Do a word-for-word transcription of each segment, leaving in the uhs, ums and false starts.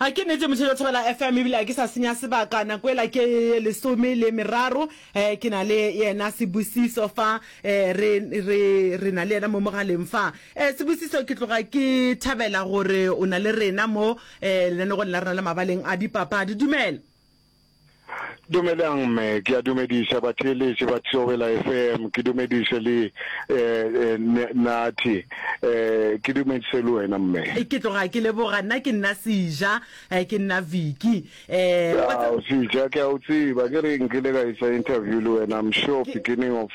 A ke nnete motšhelo Thobela F M, ebile a ke sa senya sebaka, nako ela ke ye lesome le meraro. um ke na le yena Sebusiso fa, um re re re na le yena mo mogaleng fa. um Sebusiso, ke tloga ke thabela gore o na le rena mo um lenanegong la rena la mabaleng a dipapadi. Dumela. Dumelang mme, ke a dumediša batheeletši ba Thobela F M, ke dumediše le eh, Nathi, eh, ke dumediše le wena mme. Ke tloga ke leboga, nna ke nna Seja, ke nna Vicky. Eh, Ao Seja, ke a o tseba, ke re nkile ka isa interview le wena, I'm sure beginning of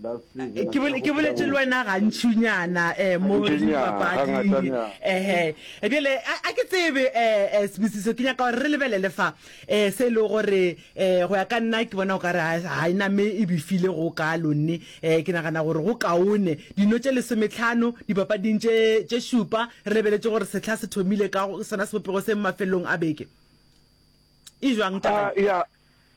last season. Ke bole- ke boletše le wena gantšinyana um mo Gantšinyana, dipapading. Gangatanyana. Ehe, bjale a a ke tsebe, um Sebusiso, ke nyaka gore re lebelele fa um se e le gore um go ya ka nna ke bona o ka re ga e name e befile go kalo nne. um ke nagana gore go kaone dino tše lesometlhano dipapading tše tše šupa, re lebeletše gore sehla se thomile ka sona sebopego se mafelelong a beke e jwang taba Ah, ya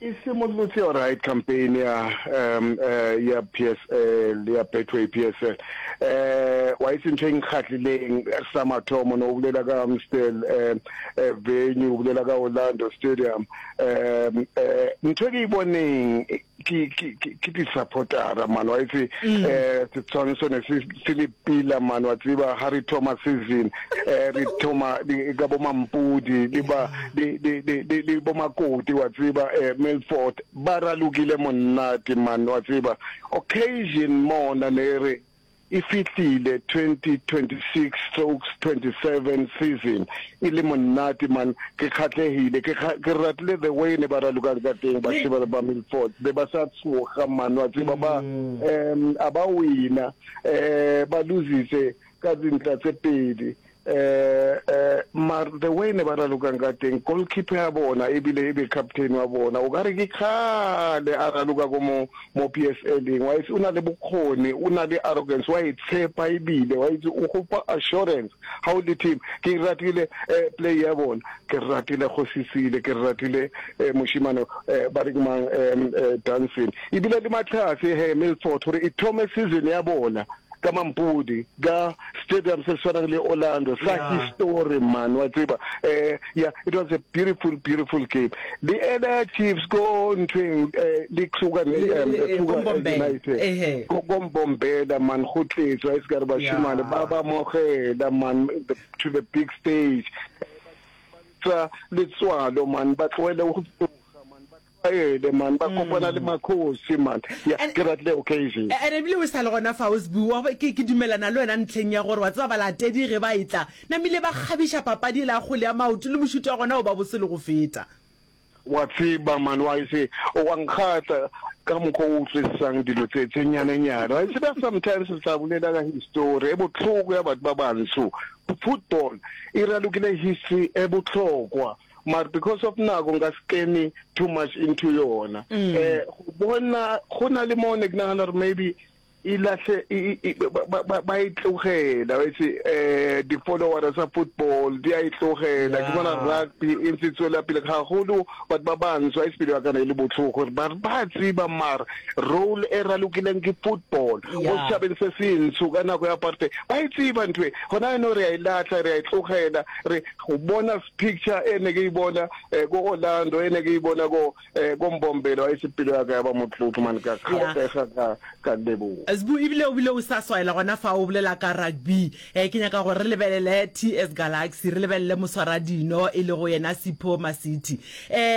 e simolotse alright campaign ya um uh, ya P S L, ya Betway P S L. eh wa itse ntho e nkgatlileng sa mathomo, no o bolela ka Amstel eh eh, venue, o bolela ka Orlando Stadium, um eh ntho e ke e boneng ke ke ke ke di-supportera man. Wa itse eh setshwantsho ne se se le pila man. Wa tseba ha re thoma season, eh re thoma di- ka bo Mampudi le ba le le le le le bo Makoti, wa tseba eh Milford ba ralokile monate man. Wa tseba occasion mona ne re e fihlile twenty twenty-six strokes twenty-seven season e le monate man. Ke kgatlehile, ke kga- ke ratile the way ne ba ralokang ka teng bashebane ba Milford, be ba sa tshoga man. Wa tseba ba um a ba wina, eh ba lositse ka dintla tse pedi, eh eh mar the way ne ba ralokang ka teng, goalkeeper ya bona ebile e be captain wa bona, o ka re ke kgale a raloka ko mo mo P S L-eng. Wa itse o na le bokgoni, o na le arrogance, wa e tshepa, ebile wa itse o gopa assurance ha o le team. Ke ratile eh, play ya bona, ke ratile go sisile, ke ratile eh, moshimane eh, ba re ke mang, eh, Dancing, ebile le Matlhase he Milford, gore e thome season ya bona ka Mampudi, ka stadium se tshwanang le Orlando sa Yeah. history man. Wa tseba eh yeah, it was a beautiful, beautiful game. Le ela Chiefs ko nthweng eh le Kruger Le- um le- eh, Kruger Kombombela. United. Ehe. Ko Kombombela man, go tletswe a se ka re bashimane Yeah. ba ba mogela man the, to the big stage tsa letswalo man, ba tlohele go tsoga man, ba tlwaele man, ba kopana le makhosi man. Yeah, And- ke ratile occasion. And ebile o sa le gona fa o bua, ke ke dumelana le wena ntlheng ya gore wa tseba balatedi ge ba etla namile ba kgabiša papadi e la kgole ya maoto le mošuto wa gona o ba bose le go feta. Wa tseba man, wa itse o wa nkgatla ka mokgwa o utlwisisang dilo tse tse nyanenyane. Wa tseba sometimes re tla bolela ka history e botlhoko ya batho ba bantsho, football e ralokile history e botlhokwa, mara because of nako nka se kene too much into yona. eh go bona go na le mo ne ke nagana gore maybe e lahle e- e- ba- ba ba e tlogela, wa itse eh di-followers tsa football di a e tlogela. Ke bona rugby e ntse e tswela pele gagolo, batho ba bantsho a e sepele ya kana e le botlhoko gore ba ba tseba, mara role e ralokileng ke football mo Yeah. setšhabeng se sentsho ka nako ya apartheid, ba e tseba ntho e. Gona eno re a e latlha, re a e tlogela. Re go bona picture e ne ke e bona eh, ko Orlando, e ne ke e bona ko eh, ko Mbombela, wa itse pelo ya ka ya ba motlotlo man, ka Yeah. kgatlega, ka ka leboga. Sbu, ebile o bile o sa swaela gona fa o bolela ka rugby, eh ke nyaka gore re lebelele T S Galaxy, re lebelele moswaradino e lego yena Sipho Masithi. eh